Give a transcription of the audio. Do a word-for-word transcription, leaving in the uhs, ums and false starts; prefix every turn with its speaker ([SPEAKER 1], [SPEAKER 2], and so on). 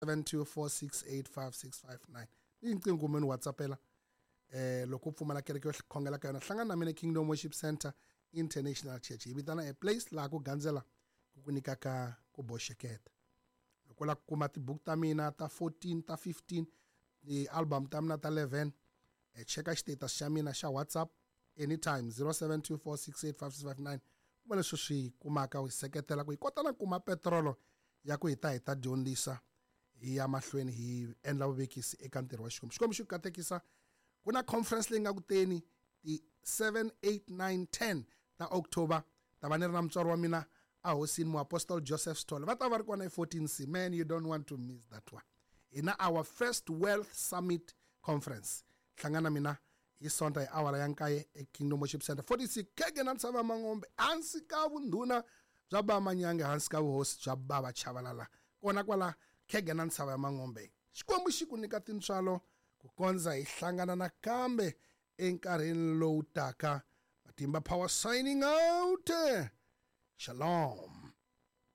[SPEAKER 1] seven two four six eight five six five nine i nqingho kumbe ni whatsappela eh loko u pfumala kereke yo khongela ka yona hlangana na mina Kingdom Worship Center International Church hi vitana a place laha ku gandzela ku ku nyikaka ku boxeketa loko u lava ku kuma tibuku ta mina ta fourteen ta fifteen ti-album ta mina ta eleven eh, cheka xitatus xa mina xa WhatsApp anytime zero seven two four six eight five six five nine kuma leswi swi kumaka u hi seketela ku hi kota na kuma petrolo ya ku hi ta hi ta dyondzisa hi ya mahlweni hi endla vuvekisi eka ntirho wa Xikwembu. Xikwembu xi ku katekisa. Ku na conference leyi nga ku teni ti seven eight nine ten ta October ta va ni ri na mutswari wa mina a hosini muapostol Joseph Sithole va ta va ri kona hi fourteen C. Man, you don't want to miss that one. Hi na our first Wealth Summit Conference. Hlangana mina hi Sonta hi awara ya nkaye eKingdom Worship Center forty-six Khege na Ntshava Mangombe hansi ka vundhuna bya Baba Manyange hansi ka vuhosi bya Baba Chavalala kona kwala Khege na Ntshava ya Mangombe. Xikwembu xi ku nyika tintswalo ku kondza hi hlangana nakambe enkarhini lowu taka. Matimba Power signing out. Shalom.